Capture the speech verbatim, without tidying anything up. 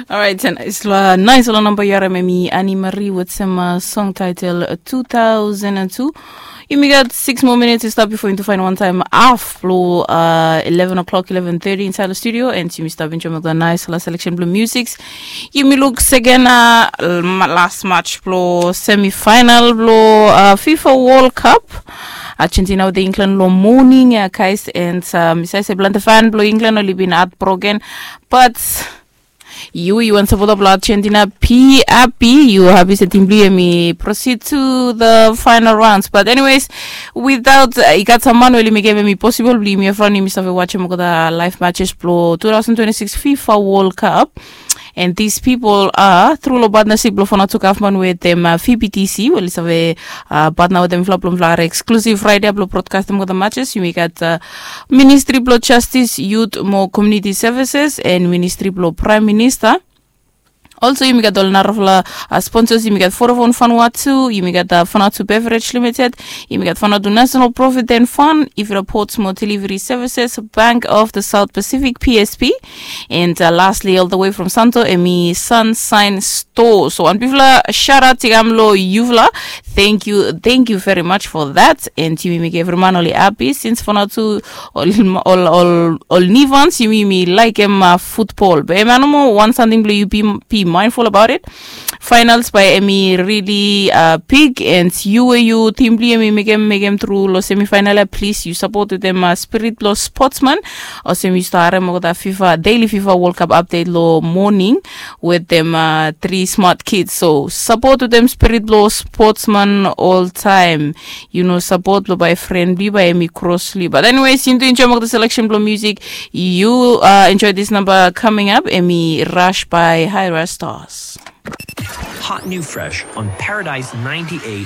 Orait, nais long namba yu harim em i Annie Marie wetem song title two thousand and two. Yumi gat six more minutes i stap before yumi to find one time half blong uh, eleven o'clock, eleven thirty inside the studio, and yumi stap enjoy with the nice la selection blong music. Yumi look second uh, last match blong semifinal blong uh, FIFA World Cup. Argentina with England long morning, yeah, guys, and um, I say blanta fan blong England only been heartbroken, but yu yu wan sapota blong Argentina, be happy. Yu happy se tim blong yu em i proceed to the final rounds. But anyways, without uh, i gat sam man we oli mekem em i possible blong yumi evriwan yumi save watch em olgeta live matches blong two thousand twenty-six FIFA World Cup. And these people are through long partnership blong Vanuatu government wetem uh, V B T C, we oli save uh, partner wetem mifala blong mifala hari exclusive right ia blong broadcastem olgeta matches. Yumi gat uh, Ministry blong Justice, Youth mo Community Services, and Ministry blong Prime Minister. Also yumi gat ol narafala uh, sponsors. Yumi gat Vodafone Vanuatu, yumi gat uh, Vanuatu Beverage Limited, yumi gat Vanuatu National Provident Fund, Ivira Ports mo Delivery Services, Bank of the South Pacific, P S P, and uh, lastly, all the way from Santo, em i Sunshine Store. So wan bigfala shout out i kam long yufala. Thank you, thank you very much for that. And yumi mekem evri man oli happy since Vanuatu ol ol ol ol Nivans, yumi yumi laikim uh, football. Be em i no moa wan samting blong yu be, be mindful about it. Finals bae em i really uh, big, and yu we yu tim blong yu em i mekem mekem tru long semifinal ia, please yu support wetem uh, spirit blong sportsman. Olsem yu stap harem olgeta FIFA, daily FIFA World Cup update long morning wetem uh, three smart kids. So support wetem spirit blong sportsman all time. Yu no support blong bae friend blong yu bae em i cross blong yu. But anyways, yu need to enjoy olgeta selection blong music. Yu uh, enjoy this number coming up, em i Rush by High Rush Stars. Hot new fresh on Paradise ninety-eight